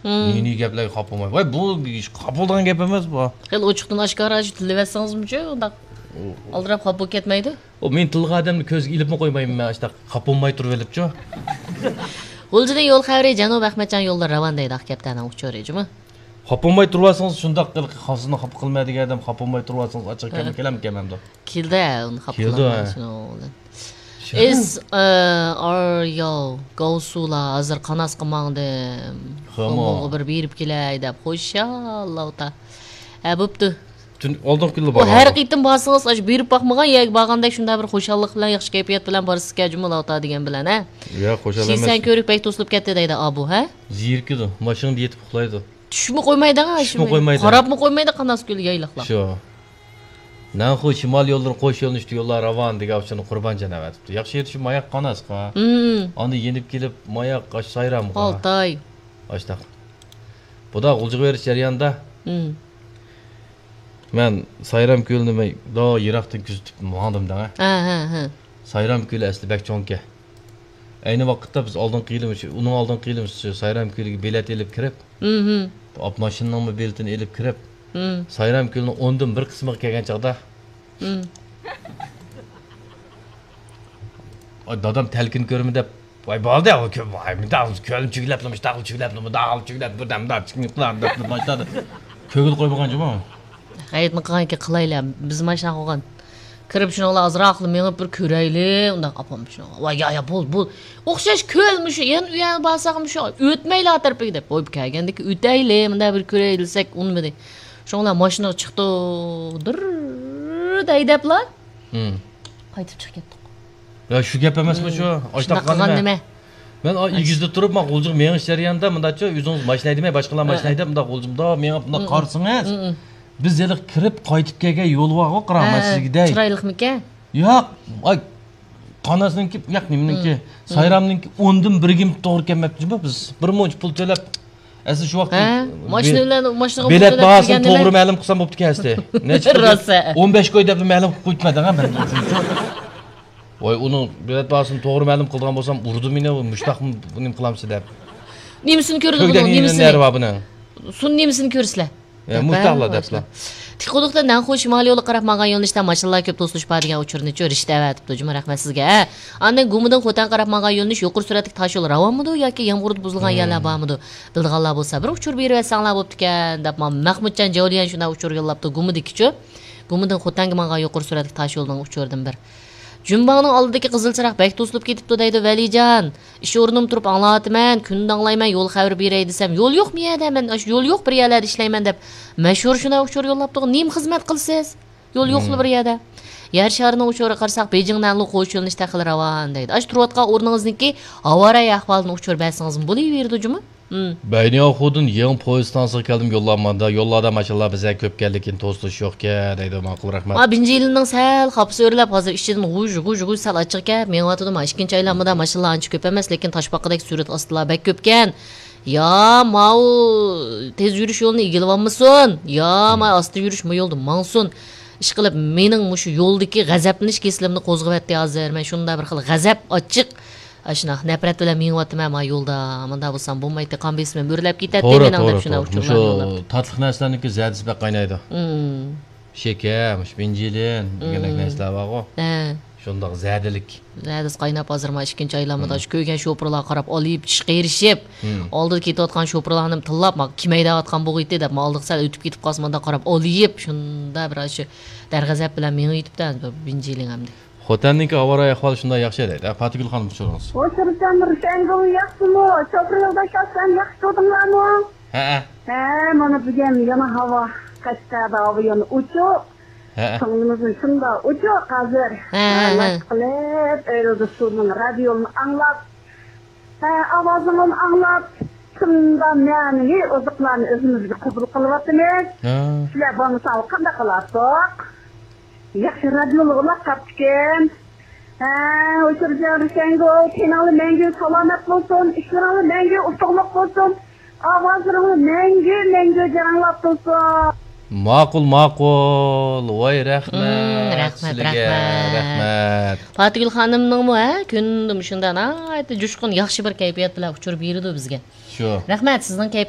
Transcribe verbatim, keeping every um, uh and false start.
نى-نى گەپلەرگە خاپا بولماي. ۋاي، بۇ خاپا بولىدىغان گەپ ئەمەس بۇ. خېلى ئوچۇقتىن ئاشكارا شۇ تىللىۋەتسىڭىزمۇچۇ ئۇنداق ئالدىراپ خاپا بولۇپ كەتمەيدۇ. ئۇ مېنى تىللىغان ئادەمنى كۆزگە ئېلىپمۇ قويمايمەن مەن، ئاشتاق خاپا بولماي تۇرۇۋېلىپچۇ. غۇلجىدىن يول خەۋىرى، جەنۇب ئەخمەتجان يوللىرى راۋان دەيدۇ، ئاق كەپتەرنىڭ ئۇچۇرى جۇمۇ. خاپا بولماي تۇرۇۋالسىڭىز شۇنداق، خانسىزنى خاپا قىلماي دېگەن ئادەم، خاپا بولماي تۇرۇۋالسىڭىز ئاچچىق كەلمە، كەلمە كەلمەمدۇ؟ كېلىدۇ ئۇنى خاپا قىلماي شۇنىڭ بىلەن. ئىس ئار ياۋ گاۋسۇلا ھازىر قاناسقا ماڭدىم. خېمو. خېموغا بىر بېرىپ كېلەي دەپ خۇشال لاۋتا. ھە بوپتۇ. ئالدىنقى كۈنلا بارغان. ھەر قېتىم بارسىڭىز ئاشۇ بېرىپ باقمىغان يەرگە بارغاندەك شۇنداق بىر خۇشاللىق بىلەن ياخشى كەيپىيات بىلەن بارىسىزكەن جۇمۇ لاۋتا دېگەن بىلەن ھە. ياق خۇشال ئەمەس. شىسەن كۆرۈك بەك توسۇلۇپ كەتتى دەيدۇ ئابۇ ھە. زېرىكىدۇ، ماشىنىدا يېتىپ ئۇخلايدۇ. چۈشمۇ قويمايدۇ ھە. چۈشمۇ قويمايدۇ. قاراپمۇ قويمايدۇ قاناس كۆل يايلاقلار. شۇ. نەنخۇ شىمال يوللىرى قوش يۆنىلىشتە يوللار راۋان دېگەن ئۇچۇرنى قۇربانجان ئەۋەتىپتۇ. ياخشى يېرى شۇ ماياق قاناسقا. ئاندىن يېنىپ كېلىپ ماياق ئاش سايرامغا. ئالتاي. ئاشتاق. بۇدا غۇلجىغا بېرىش جەريانىدا مەن سايرام كۆلىنى مەن دو يىراقتىن كۆزىتىپ ماڭدىم دەڭە. ھە، ھە، ھە. سايرام كۆلى ئەسلى بەك چوڭكەن. ئەينى ۋاقىتتا بىز ئالدىنقى يىلى، ئۇنىڭ ئالدىنقى يىلى سايرام كۆلىگە بېلەت ئېلىپ كىرىپ، ماشىنىنىڭمۇ بېلىتىنى ئېلىپ كىرىپ، سايرام كۆلىنىڭ ئوندىن بىر قىسمىغا كەلگەن چاغدا، ئاي، دادام تەلكىنى كۆرىمەن دەپ، ۋاي، بولدى، ئۇ كۆ-، ۋاي، مۇنداق كۆلنى چۈگلەپلا، مۇشتاقلا چۈگلەپلا، مۇنداقلا چۈگلەپ، بىردەم مۇنداق چىقىپ قىلار دەپ باشلىدى. كۆڭۈل قويمىغان جۇمۇ. غەيرىتنى قىلغانكەن قىلايلى، بىز ماشىنا قويغان. كىرىپ شۇنىڭ بىلەن ئازراقلا مېڭىپ بىر كۆرەيلى، ئۇنداق ئاپام شۇنىڭغا، ۋاي يا يا بول بول، ئوخشاش كۆل مۇشۇ، يەنە ئۇ يەرگە بارساق مۇشۇ، ئۆتمەيلى ئا تەرىپىگە دەپ، ۋاي كەلگەندىكى ئۆتەيلى، مۇنداق بىر كۆرەيلى دېسەك ئۇنىمىدى. شۇنىڭ بىلەن ماشىنىغا چىقتۇق، دىررررد ھەيدەپلا قايتىپ چىقىپ كەتتۇق. يا شۇ گەپ ئەمەسمۇ شۇ؟ شۇنداق قىلغان نېمە؟ مەن ئېگىزدە تۇرۇپ، مانا غۇلجىغا مېڭىش جەريانىدا مۇنداقچۇ، ئۆزىڭىز ماشىنا ھەيدىمەي، باشقىلار ماشىنا ھەيدەپ، مۇنداق غۇلجا مۇنداق مېڭىپ، مۇنداق قارىسىڭىز، بىز ھېلىقى كىرىپ قايتىپ كەلگەن يول بارغۇ، قاراڭ، مەن سىزگە دەي. چىرايلىقمىكەن؟ ياق، ئاي، قاناسنىڭكى، ياق، نېمىنىڭكى، سايرامنىڭكى ئوندىن بىرىگىمۇ توغرا كەلمەپتۇ، بىز بىر مۇنچە پۇل تۆلەپ، ئەسلى شۇ ۋاقىت ھە؟ ماشىنا بىلەن، ماشىنىغا پۇل بېلەت تۆلەپ باھاسىنى كىرگەن توغرا نېمە؟ مەلۇم قىلسام بوپتىكەن ئەسلى. نەچچە پۇل؟ راست ھە. ئون بەش كوي دەپلا مەلۇم قىلىپ قويۇپتىمەن دەڭە مەن. ۋاي، ئۇنىڭ بېلەت باھاسىنى توغرا مەلۇم قىلىدىغان بولسام، ئۇرىدۇ مېنى، مۇشتاقمۇ نېمە قىلامسىز دەپ. نېمىسىنى كۆرىدۇ بۇنىڭ، نېمىسىنى؟ نېرۋا بۇنىڭ. سۇن نېمىسىنى كۆرىسىلەر؟ ئە، مۇشتاقلا دەپلا. تىقۇدۇقتا نەنخۇ شىمالىي يولغا قاراپ ماڭغان يۆنىلىشتە ماشىنىلار كۆپ توسۇلۇشۇپ بار دېگەن ئۇچۇرنىچۇ رىشتە ئەۋەتىپتۇ جۇمۇ، رەھمەت سىزگە. ھە. ئاندىن گۇمىدىن خوتەنگە قاراپ ماڭغان يۆنىلىش يۇقىرى سۈرئەتلىك تاش يول راۋانمىدۇ ياكى يامغۇردا بۇزۇلغان يەرلەر بارمىدۇ؟ بىلىدىغانلار بولسا بىر ئۇچۇر بېرىۋەتسەڭلار بوپتىكەن، دەپ مانا مەخمۇتجان جەۋلىيەن شۇنداق ئۇچۇر يوللاپتۇ، گۇمىدىكىچۇ. گۇمىدىن خوتەنگە ماڭغان يۇقىرى سۈرئەتلىك تاش يولنىڭ ئۇچۇرىدىن بىر. جۈمباڭنىڭ ئالدىدىكى قىزىل چىراغ بەك توسۇلۇپ كېتىپتۇ دەيدۇ ۋەلىجان. ئىش ئورنۇمدا تۇرۇپ ئاڭلاۋاتىمەن، كۈندە ئاڭلايمەن، يول خەۋىرى بېرەي دېسەم، يول يوقمۇ يەردە؟ مەن ئاشۇ يول يوق بىر يەرلەردە ئىشلەيمەن دەپ مەشھۇر شۇنداق ئۇچۇر يوللاپتۇ. نېمە خىزمەت قىلىسىز؟ يول يوقلا بىر يەردە. يەر شارىنىڭ ئۇچۇرىغا قارىساق، بېيجىڭ نەنلۇ قوش يۆنىلىشتە خېلى راۋان دەيدۇ. ئاشۇ تۇرۇۋاتقان ئورنىڭىزنىڭكى ھاۋا رايى ئەھۋالىدىن ئۇچۇر بەرسىڭىزمۇ بولۇۋېرىدۇ جۇمۇ. بەينىياخۇدىن يېڭى پويىز ئىستانسىسىغا كەلدىم، يوللار ماندا. يوللاردا ماشىنىلار بىزدەك كۆپ ئىكەن، لېكىن توسۇلۇش يوقكەن دەيدۇ. ماقۇل، رەھمەت. ما بىنجىلىننىڭ سەل خاپىسى ئۆرلەپ، ھازىر ئىچىدىن غۇژ، غۇژ، غۇژ سەل ئاچچىقكەن مېڭىۋاتىدۇ. ما ئىككىنچى ئايلانمىدا ماشىنىلار ئانچە كۆپ ئەمەس، لېكىن تاشپاقىدەك سۈرئەت ئاستىلار بەك كۆپكەن. يا ماۋۇ تېز يۈرۈش يولىنى ئىگىلىۋالمىسۇن، يا ما ئاستا يۈرۈش ما يولدا ماڭسۇن. ئىشقىلىپ، مېنىڭ مۇشۇ يولدىكى غەزەپلىنىش كېسىلىمنى قوزغىۋەتتى ھازىر. مەن شۇنداق بىر خىل غەزەپ، ئاچچىق، ئاشۇنداق نەپرەت بىلەن مېڭىۋاتىمەن ما يولدا. مۇنداق بولسام بولمايتتى، قان بېسىمىم ئۆرلەپ كېتەتتى مېنىڭ دەپ شۇنداق ئۇچۇرلارنى يوللاپتۇ. مۇشۇ تاتلىق نەرسىلەرنىڭكى زەدىسى بەك قاينايدۇ. شېكەر، مۇشۇ بېنجىلىن دېگەندەك نەرسىلەر بارغۇ. ھە. شۇنداق زەدىلىك. زەدىسى قايناپ ھازىر ما ئىككىنچى ئايلانمىدا شۇ كۆرگەن شوپۇرلارغا قاراپ ئالىيىپ، چىشقا ئېرىشىپ، ئالدىدا كېتىۋاتقان شوپۇرلارنى تىللاپ، ما كىم ھەيدەۋاتقان بولغىيتتى دەپ، ما ئالدىغا سەل ئۆتۈپ كېتىپ قالسا، مانداق قاراپ ئالىيىپ، شۇنداق بىر ئاشۇ دەرغەزەپ بىلەن مېڭىۋېتىپتۇ بېنجىلىن ئەمدى. خوتەننىڭكى ھاۋا رايى ئەھۋالى شۇنداق ياخشى دەيدۇ. ھە، پاتىگۈل خانىم، ئۇچۇرىڭىز. ھوشۇرجان رۇشەنگۈل ياخشىمۇ؟ شوپۇر يولداش، سەن ياخشى تۇردۇڭلارمۇ؟ ھەئە. ھە، مانا بۈگۈن يەنە ھاۋا، قەشقەردە ھاۋا يەنە ئوچۇق. ھەئە. كۆڭلىمىزمۇ شۇنداق ئوچۇق ھازىر. ھە، ھە، ھە. مەشىق قىلىپ، ئۆيدە سۇنىڭ رادىيونى ئاڭلاپ، ھە، ئاۋازىڭنى ئاڭلاپ، شۇنداق مەنىۋى ئوزۇقلارنى ئۆزىمىزگە قوبۇل قىلىۋاتىمىز. ھە. سىلەر بولمىساڭلار قانداق قىلاتتۇق؟ ياخشى رادىيولارغا قاپتىكەن. ھە، ئۇچۇرجان رۇشەنگۈل، تېنىڭلار مەڭگۈ سالامەت بولسۇن، ئىشلىرىڭلار مەڭگۈ ئۇتۇقلۇق بولسۇن، ئاۋازلىرىڭلار مەڭگۈ، مەڭگۈ جاراڭلاپ تۇرسۇن. ماقۇل، ماقۇل. ۋاي، رەھمەت. مم، رەھمەت، سىلىگە رەھمەت. رەھمەت. پاتىگۈل خانىمنىڭمۇ، ھە، كۈندە مۇشۇنداق ناھايىتى جۇشقۇن، ياخشى بىر كەيپىيات بىلەن ئۇچۇر بېرىدۇ بىزگە. شۇ. رەھمەت، سىزنىڭ كەيپ